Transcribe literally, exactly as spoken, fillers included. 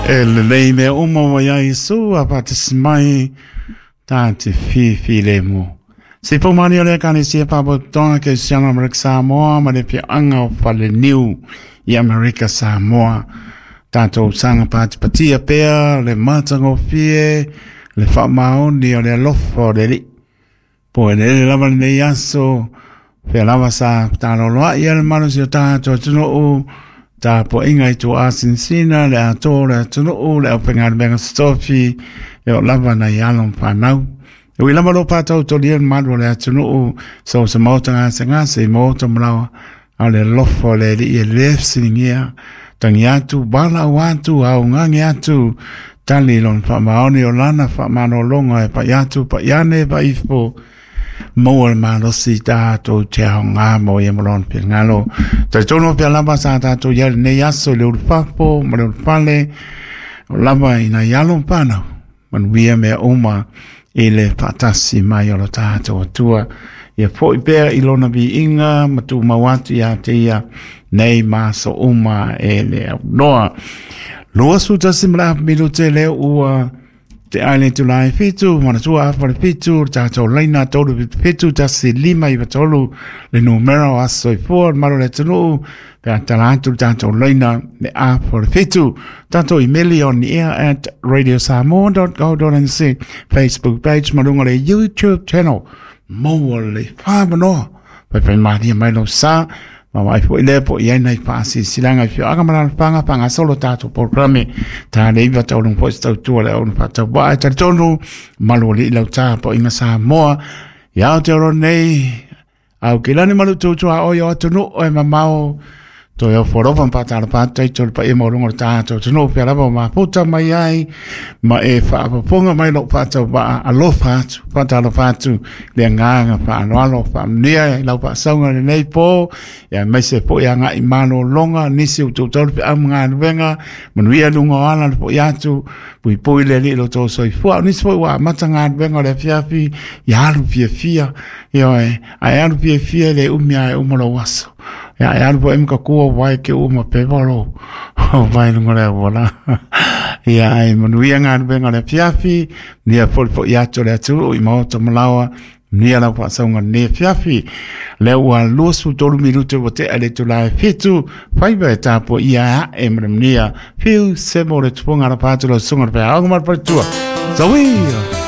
E lelei mea uma ua iā Iesu a faatasi mai ta te fifi lemu. Se paumani o le Ekalesia Faapotopotoga Kerisiano Amerika Samoa ma le Afioaga o Faleniu i Amerika Samoa. Tatou saga patipatia pea le matagofie le faamaoni o le alofa o le Alii. Po e lele lava lenei aso, fea lava sa taloloai le malosi o tatou atunuu, tapuaiga i tuasinasina le atoa o le atunuu, le aufaigaluega totofi, e oo lava nai alo ma fanau. E ui lava lo faatautolia le malu o le atunuu, so se maota gasegase i maota malaoa, a o le alofa o le Alii e le fesiligia, tagi atu, valaau atu, augage atu, tali lona faamaoni o lana faamalologa e pai atu, pai ane, pai ifo, maua le malosi tatou te aoga mo ia ma lona finagalo. Talitonu pea lava sa tatou i ai lenei aso i le ulufafo ma le ulufale, o lava i nai alo ma fanau, manuia mea uma i le faatasi mai o lo tatou Atua. Ia foi pea i lona viiga ma tumau atu ia te ia nei ma aso uma e le aunoa. Lua tasi ma le afa minute lea ua te ai le itula e fitu, manatua afa le fitu, le tatou laina tolu fitu fitu tasi lima iva tolu, le numera o aso soifua le malu o le atunuu, pe a tala atu le tatou laina le afa le fitu. Tatou imeli on the air at radio samoa dot co dot nz, Facebook page ma luga o le YouTube channel. Maua le whamanoa. Pai pai maria mai lau sa. Ma wai fo ile po i ai nei whaasisilaga i fioaga ma lalafaga faagasolo tatou polokalame. Ta le iva taulung foi se tautua le au na faatauvaa e talitonu malu alii lau tapuaiga Samoa. Ia Aotearoa nei, au kilani ma lututu a oi o atunuu e mamao. Toe ofo alofa ma faatalofa atu taito le paia maualuga o le tatou atunuu pea lava o mafuta mai ai ma e faafofoga mai lou faatauvaa alofa atu faatalofa atu le agaga faaaloalo faamanuia i lau faasauga i lenei po aemaise foi agai malologa nisi o toutou le feau ma galuega manuia luga o ala le foi atu puipui le Alii i lo outou soifua o nisi foi ua amata galuega o le afiafi ia alu fiafia ioe ae alu fiafia e le umi lava e uma lou aso. Ia e alu foi ma kakua wai ke uma pepa lo vai lunga le auala. Ia ai manuia galuega o le afiafi, manuia foi le foi atu o le atunuu i maota ma laoa, manuia lau faasauga lenei afiafi. Lea ua luasefulu tolu minute ua tea i le itula e fitu, faiva e tapuaia e ae ma le manuia. Fiu se mo le tupuga alapa atu lau susuga le feaoga ma le faletua. Sawia!